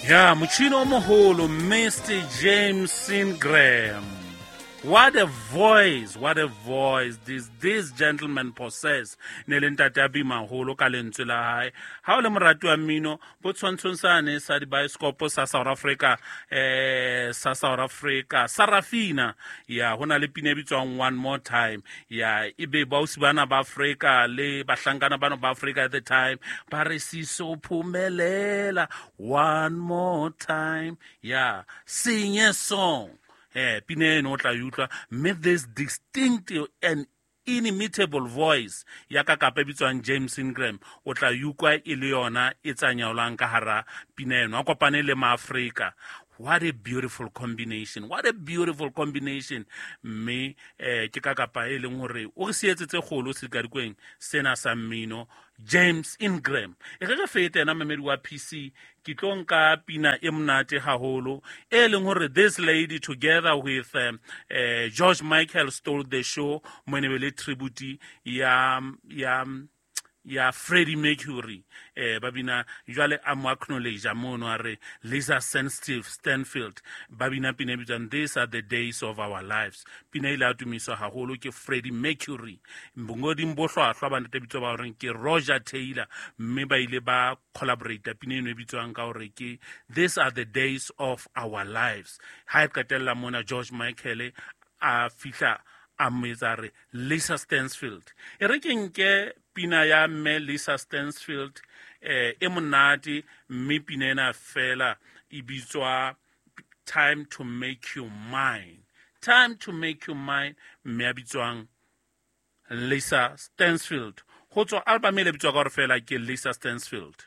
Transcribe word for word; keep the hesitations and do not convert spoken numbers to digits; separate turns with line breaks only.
Ya motjhini o moholo, Mister James Ingram. What a voice, what a voice this, this gentleman possess. Ne le ntate a bima haholo ka lentswe la hae. Ha o le morati wa mmino, bo tshwantshong sane sa dibaesekopo sa South Africa, eh, sa South Africa, Sarafina. Ya, ho na le pina e bitswang One More Time. Ya, ebe bausi bana ba Afrika le bahlankana bana ba Afrika at the time, ba re siso phumelela one more time. Ya, sing a song. Eh, pina eno o tla e utlwa, mme this distinctive and inimitable voice ya ka kapa e bitswang James Ingram, o tla e utlwa e le yona e tsanyaolang ka hara pina eno. A kopane le maAfrika. What a beautiful combination, what a beautiful combination. Mme, eh, ke ka kapa e leng hore o re sietse tse kgolo sedikadikweng sena sa mmino, James Ingram. E re re fete yena momedi wa P C, ke tlo nka pina e monate haholo e leng hore this lady together with, um, eh, George Michael stole the show mo ne be le tribute ya, ya, ya Freddie Mercury. Eh, ba bina jwale a mo acknowledge mono a re Lisa Sensitive Stanfield, ba bina pina e bitswang These Are the Days of Our Lives. Pina ile ya tumiswa haholo ke Freddie Mercury. Bongoding bo hlwahlwa ba ntate bitswa ba horeng ke Roger Taylor, mme ba ile ba collaborate pina eno e bitswang ka hore ke These Are the Days of Our Lives. Ha e qetella mona George Michael a fihla a mo etsa re Lisa Stansfield. E re ke nke pina ya mme Lisa Stansfield, eh, e monate, mme pina ena fela e bitswa Time to Make You Mine. Time to Make You Mine, mme a bitswang Lisa Stansfield. Ho tswa album e le bitswa ka hore fela ke Lisa Stansfield.